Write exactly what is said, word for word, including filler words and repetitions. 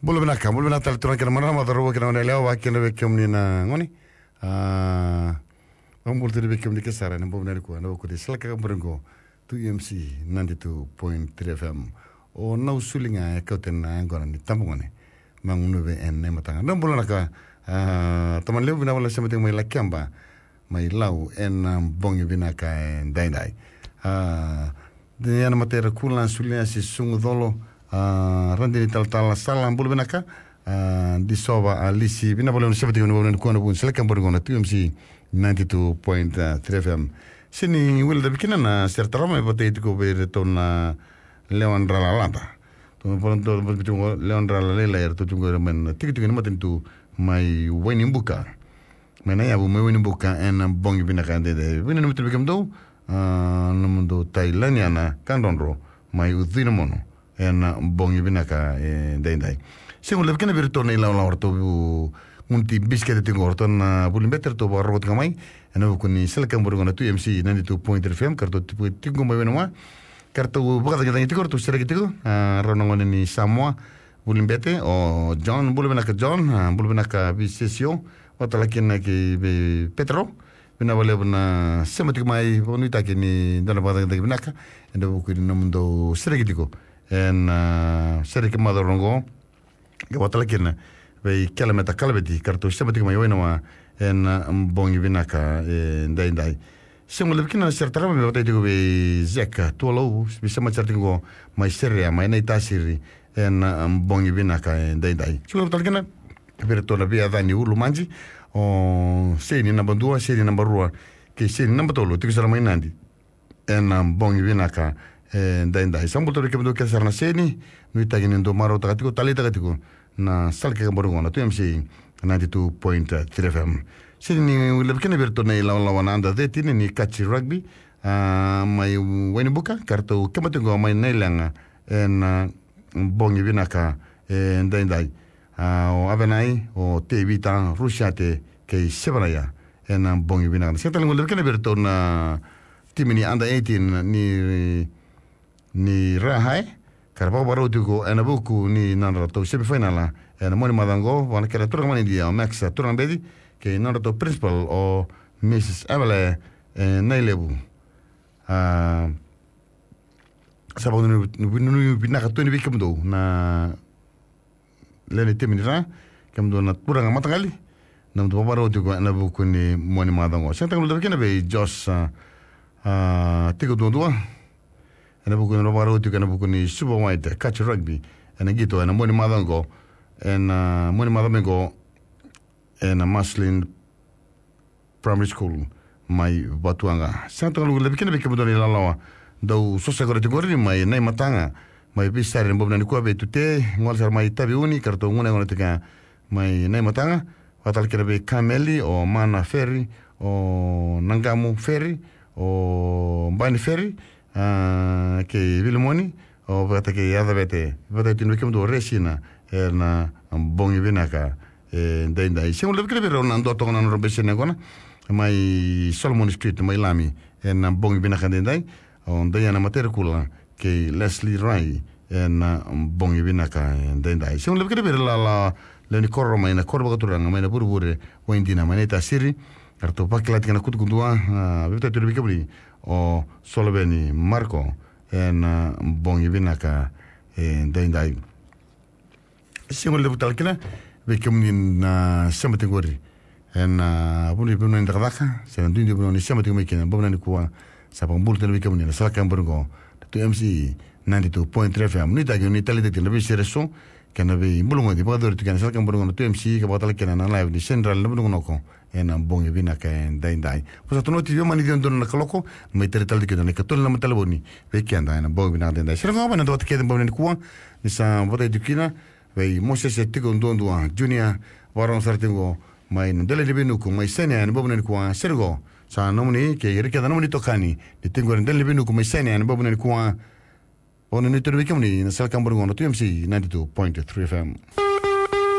Bula vinaka, bula vinaka tale turaga kei na marama, cauravou kei na goneyalewa, vakakina vei kemuni na gone. A, vakabula tale vei kemuni kece sara ena bogi vinaka nikua, ena vuku ni Salaka Kaborigo, two M C ninety-two point three F M. O Nau Suli ga e kauta na yaqona ni tabagone, magunuve ena imataka. Dou bula vinaka, a, tamani levu, vinaka vakalevu na sema tiko mai Lakeba, mai Lau, ena bogi vinaka edaidai. A, Diana Matera Kula, Suliasi Sugucolo, a, Radini Talatala Sala, bula vinaka, a, Disova Alisi, vinaka vakalevu na sema tiko mai na bogi vinaka nikua ena vuku ni Salaka Kaborigo na two M C ninety-two point three F M. Sega ni guilecavi kina na sere tarava me vakayagataki tiko vei iratou na lewa drala lada. Tou, tou, tou, tou, lewa drala lailai, eratou tiko mai na tikotiko ni matanitu mai Wainibuka. Mai Naiyavu, mai Wainibuka, ena bogi vinaka edaidai. Vinaka na matanitu vei kemudou, a, nomudou tai Laniana Kadrodro mai Ucui na Mono, ena bogi vinaka edaidai. Sega ni guilecavi kina vei iratou na ilawalawa, ratou gunu ti bisikete tiko, ratou na vuli bete, ratou vakarorogo tiko mai ena vuku ni Salaka Kaborigo na two M C ninety-two point three F M, ka ratou tiko, tiko mai Wainiwa. Ka ratou vakacagicagi tiko, ratou sereki tiko, a, rau na gone ni Samoa, vuli bete, o John, bula vinaka John, a, bula vinaka Visesio, vaka tale kina kei vei Petero, vinaka vakalevu na sema tiko mai, vakanuitaki ni dua na vakacagicagi vinaka ena vuku ni nomudou sereki tiko ena, a, sereki macawa oqo. Ka vaka tale kina vei Kelemeta Kalaveti, ka ratou sema tiko mai Wainiwa ena bogi vinaka edaidai. Sega ni guilecavi kina na sere tarava me vakayagataki tiko vei Zeka Tualou, veisemati sara tiko qo mai Serea, mai Naitasiri, ena bogi vinaka edaidai. Sega ni guilecavi tale kina vei iratou na veiyacani Ulumaji, o Seni naba dua, Seni naba rua, kei Seni naba tolu, tiko sara mai Nadi, ena bogi vinaka edaidai. Sa bula tale vei kemudou kece sara na Seni, nuitaki ni dou marautaka tiko, taleitaka tiko na Salaka Kaborigo na two M C ninety-two point three F M. Sega ni guilecavi kina vei iratou na ilawalawa na under thirteen ni Kachi Rugby, a, mai Wainibuka, ka ratou keba tiko mai Nailaga ena bogi vinaka edaidai. A, o Avenai, o Tevita, Rusiate kei Sevanaia, ena bogi vinaka. Sega tale ni guilecavi kina vei iratou na timi ni under eighteen ni, ni Ra High, ka ra vakavakarau tiko ena vuku ni nodratou semifinal ena mua ni macawa oqo, vua na kena turaga mai Idia, o Max Turagabeci, kei nodratou principal, o Missus Evelyn, e, Nailevu. A, sa vakanuinui vinaka tu yani vei kemudou na lewe ni timi ni Ra, kemudou na turaga mataqali, nomudou vakavakarau tiko ena vuku ni mua ni macawa oqo. Sega tale ni guilecavi kina vei Josh, a, a, tiko duadua ena vuku ni vakavakarau tiko ena vuku ni Super White Kachi Rugby ena qito ena mua ni macawa oqo, ena mua ni macawa oqo, ena Marceline Primary School mai Vatuwaqa. Sega tale ni guilecavi kina vei kemudou na ilawalawa dau sosoya tiko qori mai Naimataga, mai veisari ena bogi vinaka nikua vei Tute, gole sara mai Taveuni, ka ratou gunu yaqona tiko mai Naimataga, vaka tale kina vei Kameli, o Mana Feri, o Naqamu Feri, o Bani Feri, a, kei Vilimoni, o vata kei Yacavete, vata kei tini vei kemudou Resina, ena bogi vinaka edaidai. Sega ni guilecavi kina vei rau na dua toka na nodra bese ni yaqona mai Solomon Street, mai Lami, ena bogi vinaka edaidai, o Diana Materekula kei Leslie Rai, ena bogi vinaka edaidai. Sega ni guilecavi kina vei ira na lewe ni koro mai na koro vakaturaga mai na Vurevure, Waidina, mai Naitasiri, eratou vakila tiko na kutukutu, a, vei vata tu vei kemuni o Soloveni Marco, ena bogi vinaka edaidai. Sega ni guilecavi tale kina vei kemuni na sema tiko qori ena, a, vanua ni cakacaka se na duidui vanua ni sema tiko mai kina ena bogi vinaka nikua. Sa vakabula tale vei kemuni na Salaka Kaborigo na two M C ninety-two point three F M. Nuitaki ni taleitaki tiko na veisere eso kei na veibulugoti vakayacori tiko ena Salaka Kaborigo na two M C, ka vaka tale kina na live ni Central na Vunukunoko ena bogi vinaka edaidai. Vosa Tui Noti, veimama ni ciwa donu na kaloko, mai tara tale tiko na ikatolu na naba ni talevoni vei keda ena bogi vinaka edaidai. Sere qo mai na dua vata kece ena bogi vinaka nikua, ni sa vakayagataki tiko kina vei Mosese Tiko Duadua Junior, vakarorogo sara tiko mai na Delainiveinuku mai Sainia ena bogi vinaka nikua. Sere qo sa nomuni kei ira kece na nomuni itokani ni tiko ena Delainiveinuku mai Sainia ena bogi vinaka nikua. Vakanuinui tu yani vei kemuni na Salaka Kaborigo na two M C ninety-two point three F M.